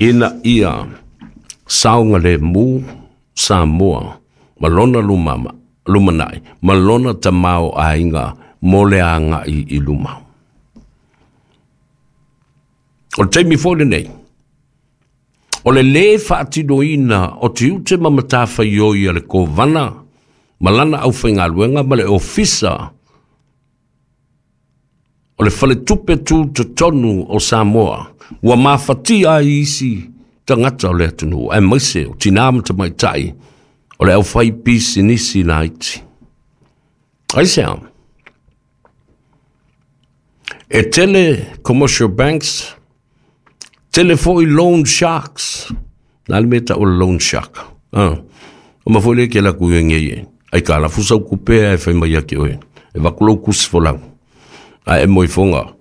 Ina ia saogalemu Samoa ma lona lumanai ma lona tamaoaiga mo le agai i luma. O le taimi foi lenei, o le lē faatinoina o tiute ma matafaioi a le Kovana ma lana aufaigaluega ma le Ofisa o le Faletupe Tutotonu o Samoa ua mafatia ai isi tagata o le atunuu, aemaise o tinā ma tamaitai o le aufaipisinisi laiti. Aisea? E tele commercial banks, tele foi loan sharks. Na le mea tau o le loan shark. Ah. O ma foi le ke la ku nge ye. Ai ka la fusa ku pe ai fai mai ke oe. E va ku ku folau. A e moi fonga.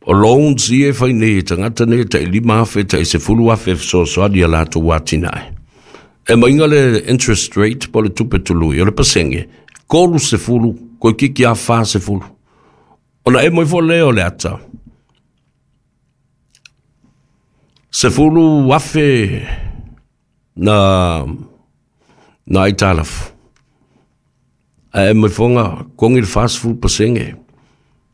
O loans ia e fai nei e tagata nei tai 5,000 tai 10,000 fesoasoani ia latou atinae. E maiga le interest rate po o le tupe tului o le pasenge, 30 koe kiki a 40. Ona e moi fo le o le ata. 10,000 na aitalafu. A e moi fonga kongi le 40%.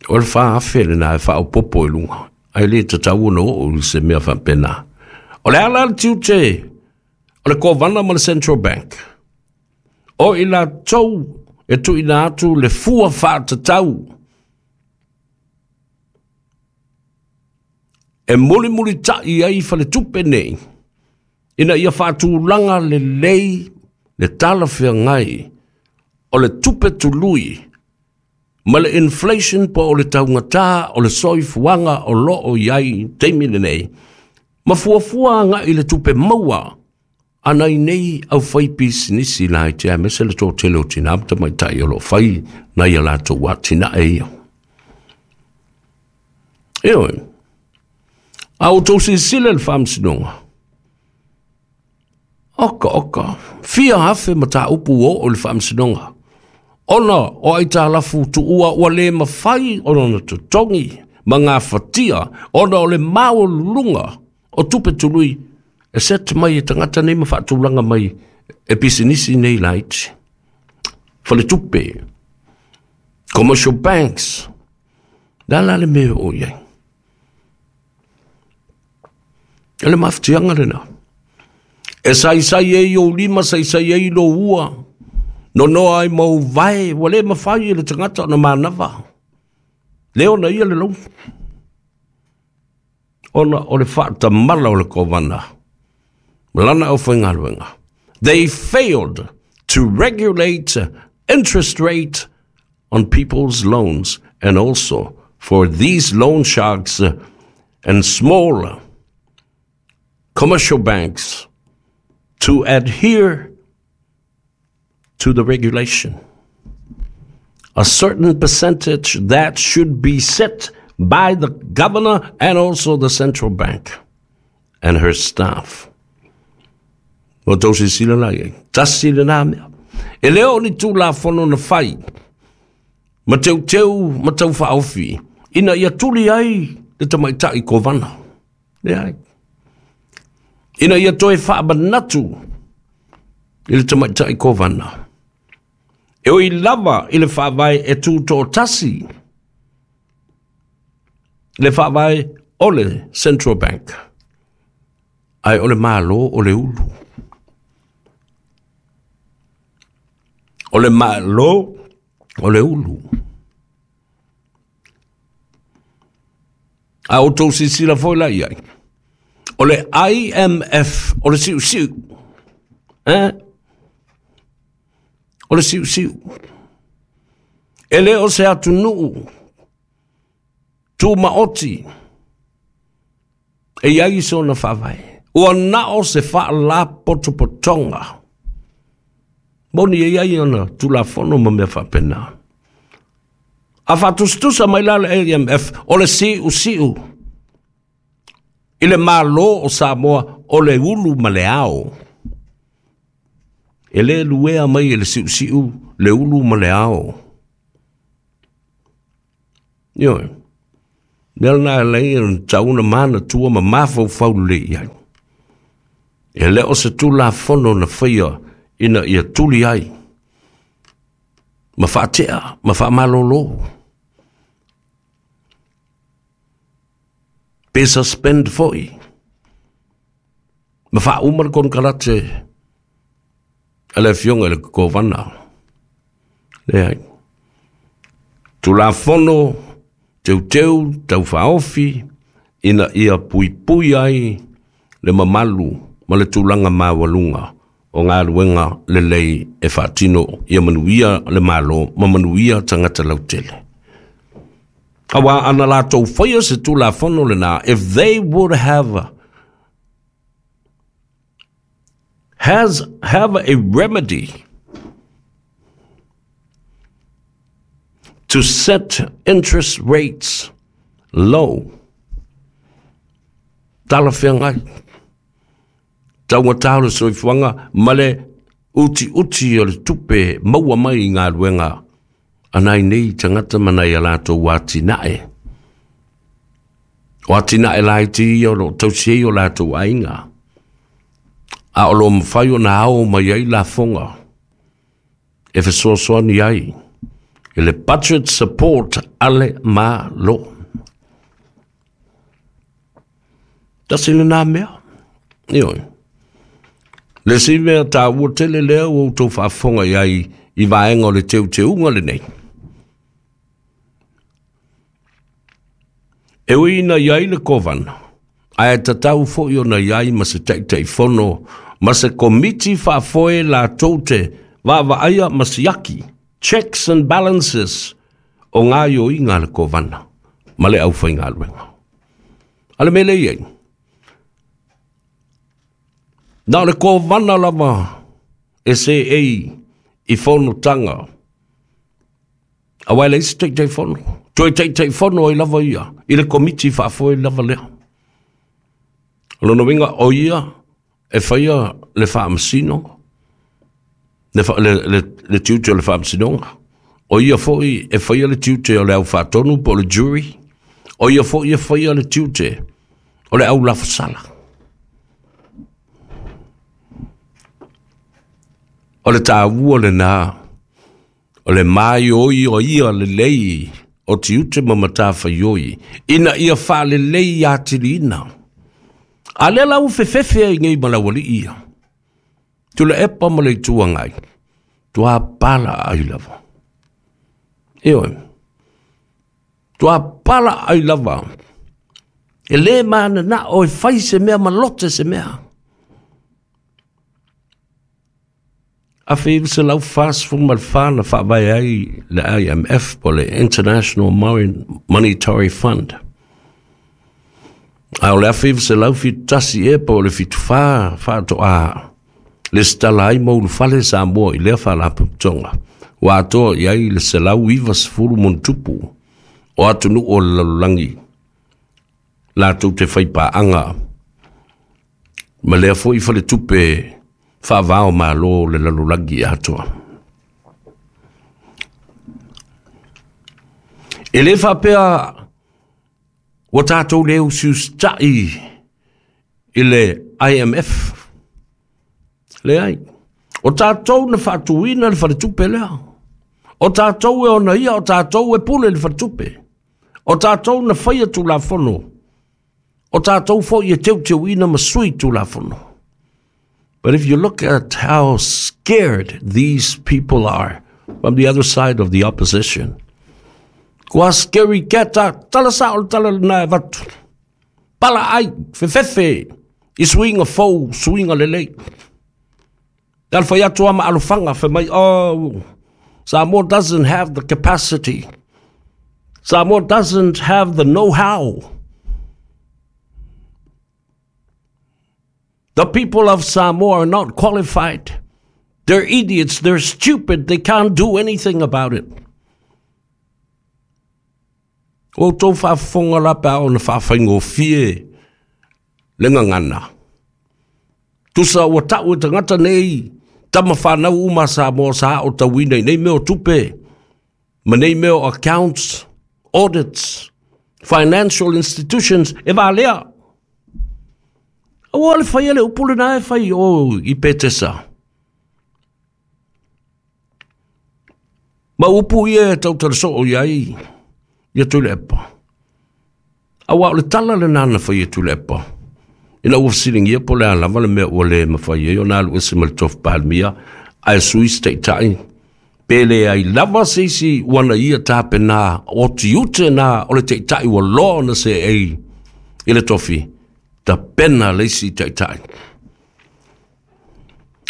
O le 4,000 le na e whaopopo e lunga. Ai le tatau ona oo i se mea faapena. O le ala le tiute o le Kovana ma le Central Bank. O i latou e tuuina atu le fua faatatau e mulimulita'i ai faletupe nei ina ia faatulaga lelei le talafeagai o le tupe tului ma le inflation po o le taugata o le soifuaga o loo i ai taimi lenei ma fuafua agai le tupe maua a nai nei aufaipisinisi laiti aemaise le toatele o tinā ma tamaitai o loo fai nai a latou atinae ia. Ioe, a outou silasila i le faamasinoga, oka oka, fia afe mataupu ua oo i le faamasinoga, ona o aitalafu tuua ua le mafai ona totogi ma gafatia ona o le maualuluga o tupe tului e set mai e tagata nei ma faatulaga mai e pisinisi nei laiti. Faletupe, commercial banks, le a la le mea o i ai? E le mafatiaga lena. E saisai ai ou lima, saisai ai lou ua, nonoa ai ma ou vae, ua le mafai e le tagata ona manava. Le ona ia le lou. Ona o le faatamala o le Kovana ma lana aufaigaluega. They failed to regulate interest rate on people's loans and also for these loan sharks and small commercial banks to adhere to the regulation. A certain percentage that should be set by the governor and also the central bank and her staff. O tou silasila la i ai. Tasi lena mea. E le o ni tulafono na fai ma teuteu ma tau faaofi ina ia tuli ai le tamaitai Kovana. Leai. Ina ia toe faamanatu i le tamaitai Kovana. E ui lava i le faavae e tutoatasi le faavae o le Central Bank. Ae o le Malo o le ulu. O le Malo o le ulu. A outou silasila foi la i ai. O le IMF, o le siusiu. Eh? O le siusiu. E le o se atunuu tumaoti e i ai sona faavae. Ua na o se faalapotopotoga. Moni e i ai ona tulafono ma mea faapena. A faatusatusa mai la le IMF, o le siusiu i le Malo o Samoa o le ulu ma le ao. E le luea mai e le siusiu le ulu ma le ao. Ioe. Mea lena e alai ona tau ona manatua ma mafaufau lelei i ai. E le o se Tulafono na faia ina ia tuli ai ma faatea ma faamalolo pe suspend foi ma faauma le konekarate a le Afioga i le Kovana. Leai. Tulafono teuteu taufaaofi ina ia puipui ai le mamalu ma le tulaga maualuga o galuega lelei e faatino ia manuia le Malo ma manuia tagata lautele. Aua ana latou faia se Tulafono lena, if they would have has have a remedy to set interest rates low. Talafeagai. Taugata o le soifuaga ma le utiuti o le tupe maua mai i galuega a nai nei tagata ma nai a latou atinae. O atinae laiti ia o lo o tausi ai o latou aiga, a o lo o mafai ona ao mai ai lafoga e fesoasoani ai i le budget support a le Malo. Tasi lena mea. Ioe. Le isi mea taua tele lea ua outou faafofoga i ai i vaega o le teuteuga lenei. E ui ina i ai le Kovana, ae tatau foi ona i ai ma se Taitaifono ma se Komiti Faafoe latou te vaavaaia ma siaki, checks and balances, o gaoioiga a le Kovana ma le aufaigaluega. A le mea lea e i ai, na o le Kovana lava e seei i fonotaga Aua e leai se Taitaifono. Toe Taitaifono ai lava ia i le Komiti Faafoe lava lea. O lona uiga, o ia e faia le faamasino, le, le, le, le tiute o le faamasinoga. O ia foi e faia le tiute o le au faatonu po o le jury. O ia foi e faia le tiute o le au lafosala. O le taua lena O le māioio lelei o tiute ma matafaioi ina ia faalelei atiliina. A lea la ua fefefe ai nei ma le aualii ia. Tuilaepa ma le Itu Agai, tuapala ai lava. Ioe, tuapala ai lava. E le mananao e fai se mea ma lote se mea. 1944 na faavae ai le IMF po o le International Monetary Fund. A o le 1971 ea po o le 74 faatoa lesitala ai ma ulufale Samoa i lea faalapotopotoga ua atoa i ai le 190 ma ona tupu o atunuu o le lalolagi latou te faipaaga ma lea foi faletupe faava o Malo le lalolagi atoa. E le faapea ua tatou le usiusitai i le IMF. Leai. O tatou na faatuina le faletupe lea. O tatou e ona ia, o tatou e pule le faletupe. O tatou na faia Tulafono. O tatou foi e teuteuina ma sui Tulafono. But if you look at how scared these people are from the other side of the opposition, kua scary cat tala sa o le tala lena e avatu. Pala ai, fefefe, i suiga fou, suiga lelei. Te alfai atu ama alofaga, fai mai, oh, Samoa doesn't have the capacity. Samoa doesn't have the know-how. The people of Samoa are not qualified. They're idiots. They're stupid. They can't do anything about it. Ua outou faafofoga la pe a ona faafaigofie le gagana. Tusa ua tau e tagata nei tama fanau uma a Samoa sa aotauina i nei mea o tupe ma nei mea o accounts, audits, financial institutions e valea. Aua le faia le upu lena e fai i o i Petesa. Ma upu ia e tautala soo i ai ia Tuilaepa. Aua o le tala lena na fai e Tuilaepa ina ua fesiligia po o le a lava le mea ua le mafai ai ona alu ese ma le tofi Palemia ae sui se taitai, pe leai lava se isi ua na ia tapena o tiute na o le taitai ua loa ona seei i le tofi, tapena le isi taitai.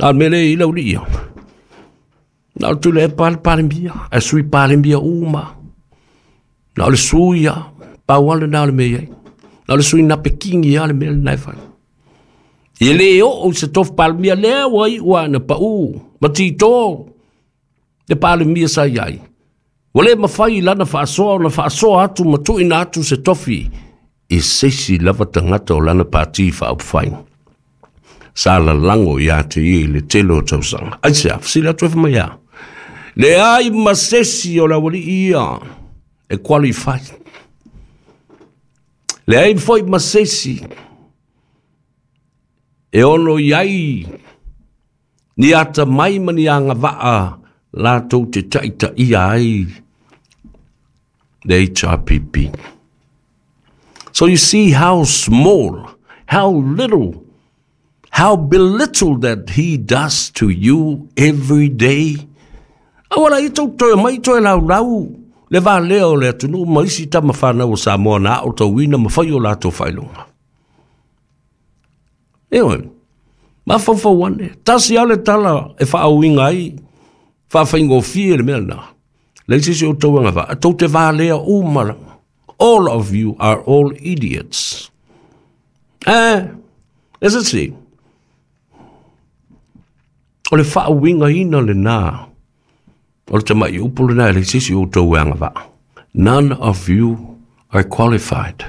A o le mea lea e i ai le aualii ia, na o le Tuilaepa lava le Palemia, ae sui Palemia uma. Na o le sui lava, pau lava lena o le mea e i ai. Na o le sui napekini lava le mea lena e fai. E le oo i se tofi Palemia lea ua iu lava ina pau ma tito le Palemia sa i ai. Ua le mafai i lana faasoa ona faasoa atu ma tuuina atu se tofi i se isi lava tagata o lana pati faaupufai sa lalago ia te ia i le tele o tausaga. Aisea? Fesili atu e fai mai a? Leai ma se isi o le aualii ia e qualify. Leai foi ma se isi e ono i ai ni atamai ma ni agavaa latou te taitaia ai le HRPP. So you see how small, how little, how belittled that he does to you every day. Aua la ia tou toe mai toe laulau le valea o le atunuu ma isi tama fanau o Samoa na aotauina ma fai o latou faailoga. Ioe, mafaufau ane, tasi lava le tala e faauiga ai, faafaigofie le mea lena. Leai se isi o outou e agavaa, tou te valea uma lava. All of you are all idiots. Eh, e se si? O le faauigaina lena o le tamai upu lena e leai se isi o outou e agavaa. None of you are qualified.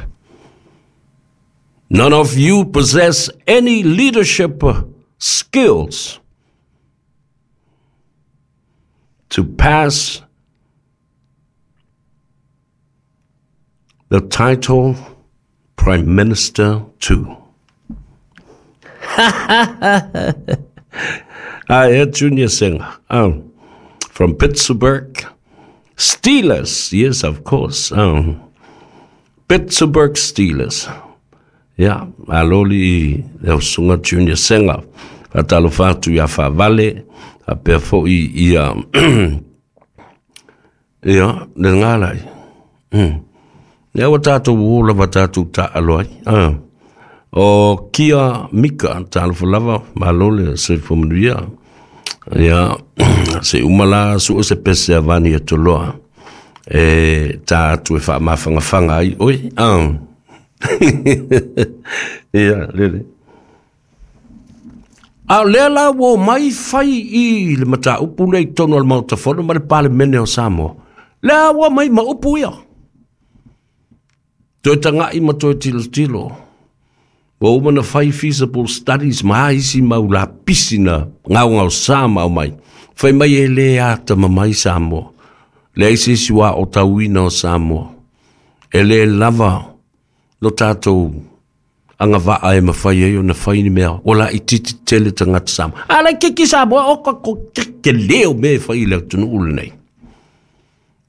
None of you possess any leadership skills to pass the title Prime Minister to. Ae, Junior Singer. Oh, from Pittsburgh. Steelers, yes, of course. Oh. Pittsburgh Steelers. Ia, malo li le usuga Junior Singer. Faatalofa atu ia Faavale, faapea foi ia ia le galai. Ia ua tatou o lava tatou taaalo ai. Ah. O Kia Mika, talofa lava, malo le soifua manuia. Ia, se uma la sue se pese a Vani Atoloa e tā atu e faamafagafaga ai oe. Ah. Ia, lele. A o lea la ua omai fai i le mataupu lea i totonu o le Maota Fono ma le Palemene o Samoa. Lea ua omai ma upu ia. Toe taga'i ma toe tilotilo. Ua uma na fai feasible studies ma a isi mau lapisi na gaogaosa ma aumai. Fai mai e le atamamai Samoa. Leai se isi ua aotauina o Samoa. E le lava lo tatou agavaa e mafai ai ona fai ni mea ua laitiiti tele tagata Samoa. A laitiiti Samoa, o ka ko tele o mea e fai i le atunuu lenei.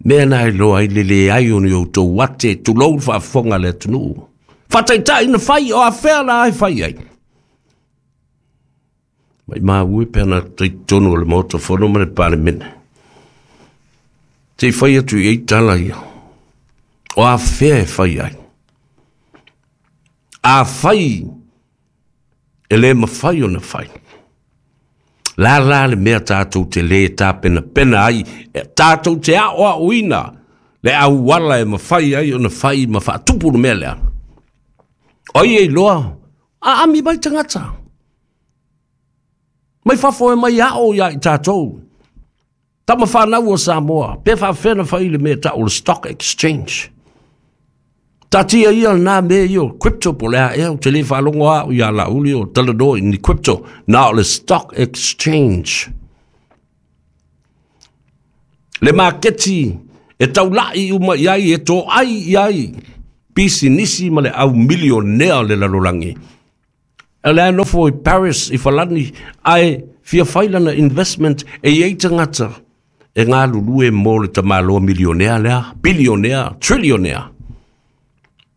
Mea na e loa ai le leai o ni outou ate, tulou le faafofoga a le atunuu. Faataitai na fai, o afea la e fai ai? Maimau e pe ana talitonu o le Maota Fono ma le Palemene. Se i fai atu i ai tala ia. O afea e fai ai? Afai e le mafai ona fai. La la le mea tatou te lē tapenapena ai, e tatou te aoaoina le auala e mafai ai ona fai ma faatupu le mea lea. O ai e iloa, aami mai tagata. Mai fafo e mai ao ia i tatou. Tama fanau o Samoa, pe faafefea ona fai le mea e tau o le stock exchange. Taatia ia lena mea ia o crypto po o le a ea, ou te le faalogo lava au ia Laauli o talanoa i ni crypto, na o le stock exchange. Le maketi e taulai uma i ai, e toai i ai pisinisi ma le au milionea o le lalolagi. O la e nofo i Paris i Falani ae fia fai lana investment e i ai tagata e galulue mo le tamaloa milionea lea, bilionea, trilionea.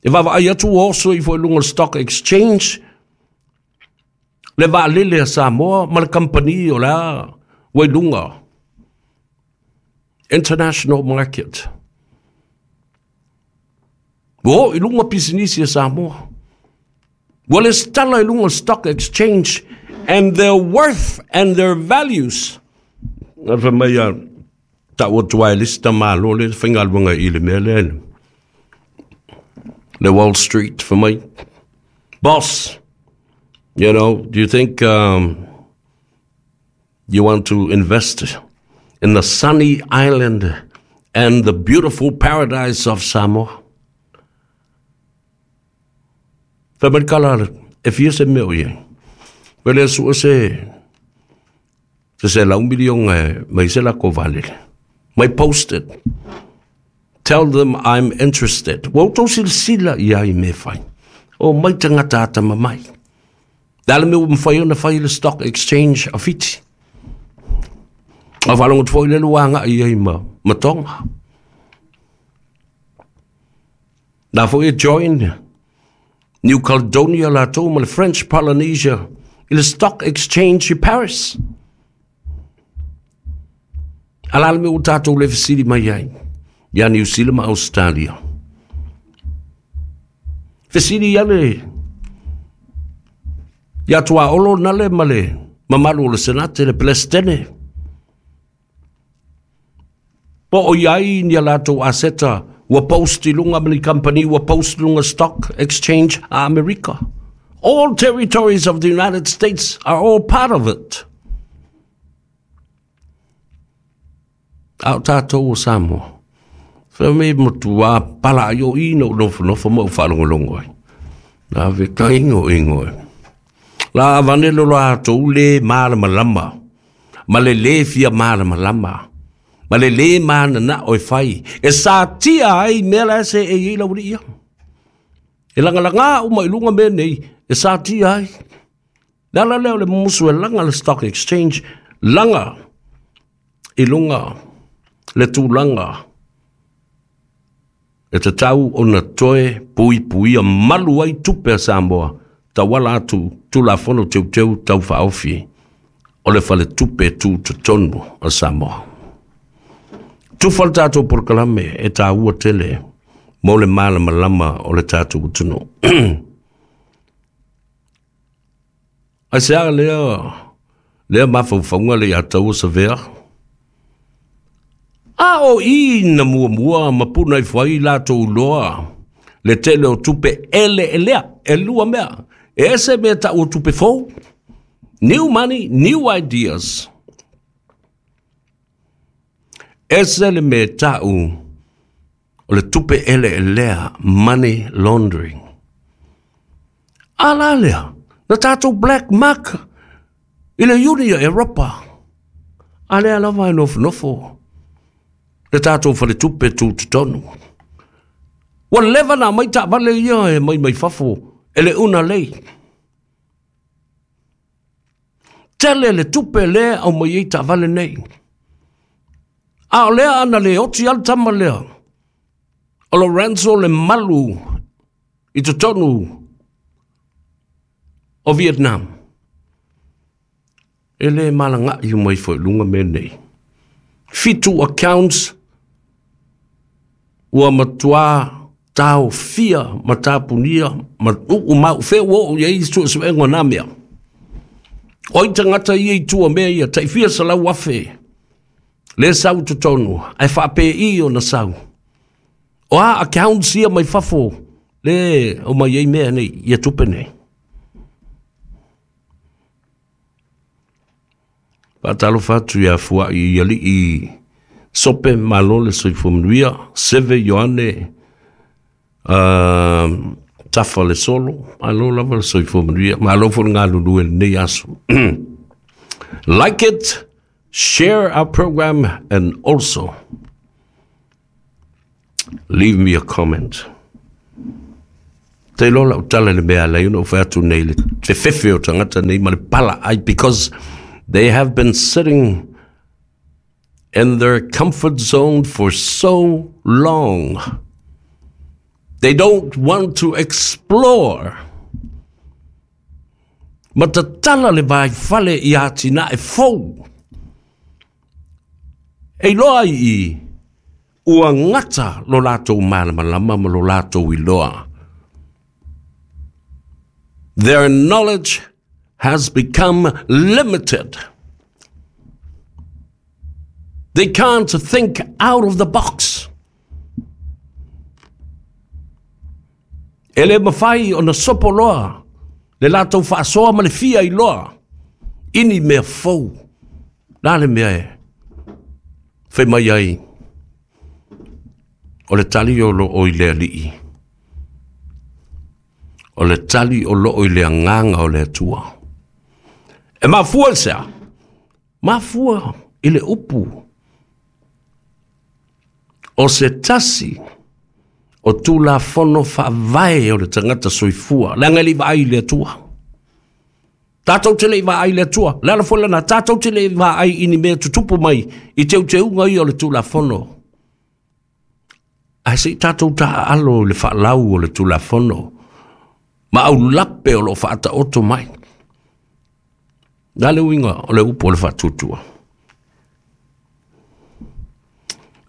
E vaavaai atu ua oso ifo i luga o le stock exchange le vaalele a Samoa ma le kamupani o la ua i luga international market. Ua oo i luga pisinisi a Samoa. Ua lesitala i luga o stock exchange and their worth and their values. Na fai mai a tau atu ai le isi tamālo le faigaluega i le mea lea le Wall Street fai mai, boss, you know, do you think you want to invest in the sunny island and the beautiful paradise of Samoa? Fai mai le kala, e fia se mea o i ai. Fai lea sua se, se se lau miliona e mai se lako vaalele. Mai post it. Tell them I'm interested. Ua outou silasila i ai me fai. O mai tagata atamamai. Le a le mea ua mafai ona fai le stock exchange a Fiti? A faalogo atu foi lea ua agai ai ma, ma Tonga. Na foi e join New Caledonia latou ma le French Polynesia i le stock exchange i Paris. A la le mea ua tatou le fesili mai ai ia New Zealand ma Australia. Fesili ia le ia Tuaolo na le ma le mamalu o le Senate le Peresetene. Po o i ai ni a latou aseta ua post i luga ma ni company ua post i luga stock exchange a Amerika. All territories of the United States are all part of it. A o tātou o Samoa. Whai me matua pala ai o i no nofonofo ma o whaalongolongo ai. Nā ve ka ingo ingo e. La avane lo latou le malamalama, ma le lē fia malamalama, ma le lē mananao e fai, e satia ai mea la e seei ai le aualii ia. E lagalagā uma i luga mea nei e satia ai. Le ala lea o le mumusu e laga le stock exchange, laga i luga le tulaga E tatau ona toe puipuia malu ai tupe a Samoa tauala atu Tulafono Teuteu Tau Faaofi o le Faletupe Tutotonu a Samoa. Tufa le tatou polokalame e taua tele mo le malamalama o le tatou atunuu. Aisea lea lea mafaufauga le ia taua savea? A o i na muamua ma puna ifo ai latou loa le tele o tupe eleelea, e lua mea, e ese mea tau o tupe fou, new money, new ideas. Ese le mea tau o le tupe eleelea, money laundering. A la lea, na tatou black mark i le Iuni a Eropa. A lea lava e nofonofo le tatou faletupe tutotonu. Ua leva na aumai taavale ia e mai mai fafo e le una lei. Tele le tupe lea aumai ai taavale nei. A o lea ana le oti lava le tama lea o Lorenzo le malu i totonu o Vietnam. E le malaga'i uma ifo i luga mea nei. Fitu accounts ua matuā taofia ma tapunia ma uu ma ufea ua oo i ai suesuega o na mea. O ai tagata ia i tua mea ia, tai fia 100,000 le sau i totonu, ae faapei ona sau. O a accounts ia mai fafo le o mai ai mea nei, ia tupe nei. Faatalofa atu ia Fuai i alii Sope malo le soifua manuia, Seve Ioane Tafa le Solo, malo lava le soifua manuia, malo foi le galulue i lenei aso. Like it, share our program and also leave me a comment. Te iloa lau tala i le mea e ala ai ona ou fai atu nei i le fefefe o tagata nei ma le pala ai because they have been sitting in their comfort zone for so long. They don't want to explore. Ma tatala le vaifale i atinae fou. E iloa ai i ua gata lo latou malamalama ma lo latou iloa. Their knowledge has become limited. They can't think out of the box. E le mafai ona sopo loa le latou faasoa ma le fia iloa i ni mea fou. La le mea e fai mai ai o le tali o loo i le Alii. O le tali o loo i le agaga o le Atua. E mafua i se a? Mafua i le upu o se tasi o Tulafono Faavae o le tagata soifua, leaga e le i vaai i le Atua. Tatou te le i vaai i le Atua. Le ala foi lena, tatou te le i vaai i ni mea tutupu mai i teuteuga ia o le Tulafono. Ae se i tatou taaalo i le faalau o le Tulafono ma aulape o lo o faataoto mai. Na le uiga o le upu o le faatuatua.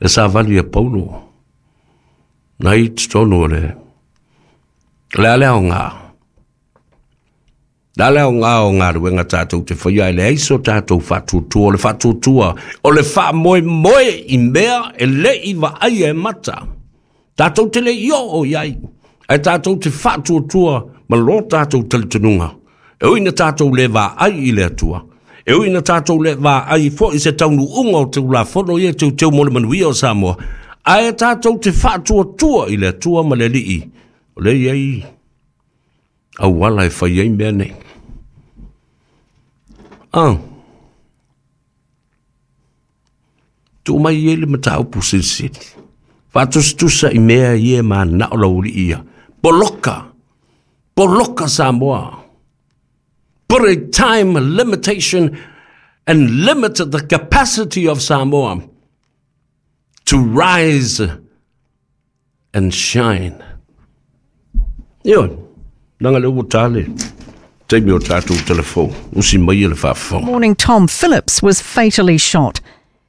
E savali a Paulo, na i totonu o le, le a le aoga. Le a le aoga o galuega tatou te faia e leai so tatou faatuatua, o le faatuatua o le faamoemoe i mea e le i vaaia e mata. Tatou te le i oo i ai, ae tatou te faatuatua ma lo tatou talitonuga. E ui ina tatou le vaai i le Atua, e ui ina tatou le vaai foi i se taunuuga o Tulafono ia e teuteu mo le manuia o Samoa, ae tatou te faatuatua i le Atua ma le Alii, o lea e i ai auala e fai ai mea nei. Ah. Tuu mai i ai le mataupu silisili. Faatusatusa i mea ia e mananao lau alii ia. Poloka! Poloka Samoa! Put a time limitation and limit the capacity of Samoa to rise and shine. Ioe, leaga lea ua ta le taimi o tatou telefou, usi mai le faafofoga. Morning Tom Phillips was fatally shot.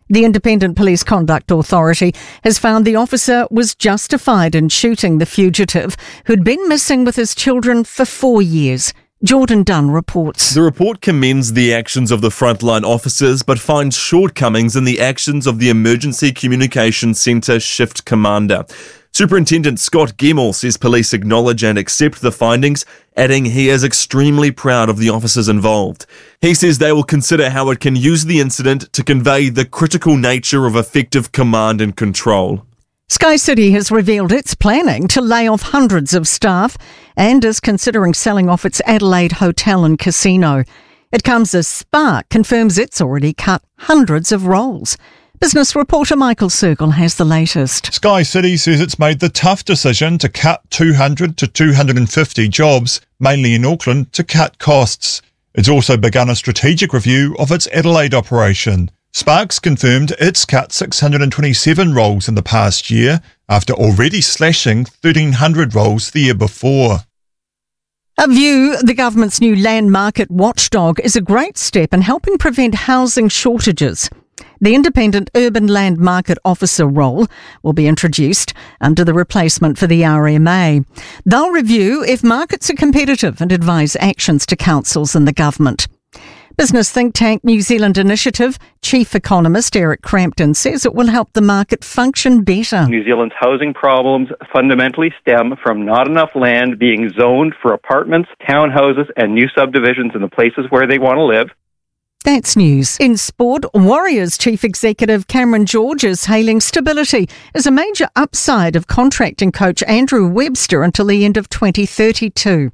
The Independent Police Conduct Authority has found the officer was justified in shooting the fugitive who'd been missing with his children for four years. Jordan Dunn reports. The report commends the actions of the frontline officers but finds shortcomings in the actions of the Emergency Communications Centre shift commander. Superintendent Scott Gemmell says police acknowledge and accept the findings, adding he is extremely proud of the officers involved. He says they will consider how it can use the incident to convey the critical nature of effective command and control. SkyCity has revealed it's planning to lay off hundreds of staff and is considering selling off its Adelaide hotel and casino. It comes as Spark confirms it's already cut hundreds of roles. Business reporter Michael Sergel has the latest. SkyCity says it's made the tough decision to cut 200 to 250 jobs, mainly in Auckland, to cut costs. It's also begun a strategic review of its Adelaide operation. Sparks confirmed it's cut 627 roles in the past year after already slashing 1,300 roles the year before. A view the government's new land market watchdog is a great step in helping prevent housing shortages. The independent urban land market officer role will be introduced under the replacement for the RMA. They'll review if markets are competitive and advise actions to councils and the government. Business think tank New Zealand Initiative Chief Economist Eric Crampton says it will help the market function better. New Zealand's housing problems fundamentally stem from not enough land being zoned for apartments, townhouses, and new subdivisions in the places where they want to live. That's news. In sport, Warriors Chief Executive Cameron George is hailing stability as a major upside of contracting coach Andrew Webster until the end of 2032.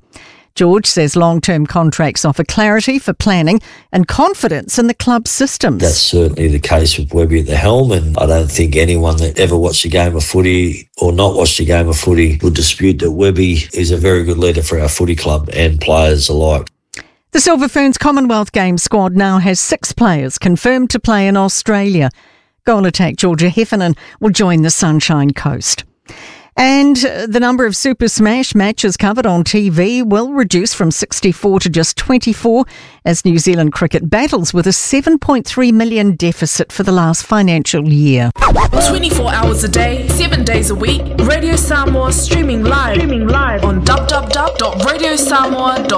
George says long term contracts offer clarity for planning and confidence in the club's systems. That's certainly the case with Webby at the helm, and I don't think anyone that ever watched a game of footy or not watched a game of footy would dispute that Webby is a very good leader for our footy club and players alike. The Silver Ferns Commonwealth Games squad now has six players confirmed to play in Australia. Goal attack Georgia Heffernan will join the Sunshine Coast. And the number of Super Smash matches covered on TV will reduce from 64 to just 24 as New Zealand cricket battles with a 7.3 million deficit for the last financial year. 24 hours a day, 7 days a week, Radio Samoa streaming live, on www.radiosamoa.co.nz.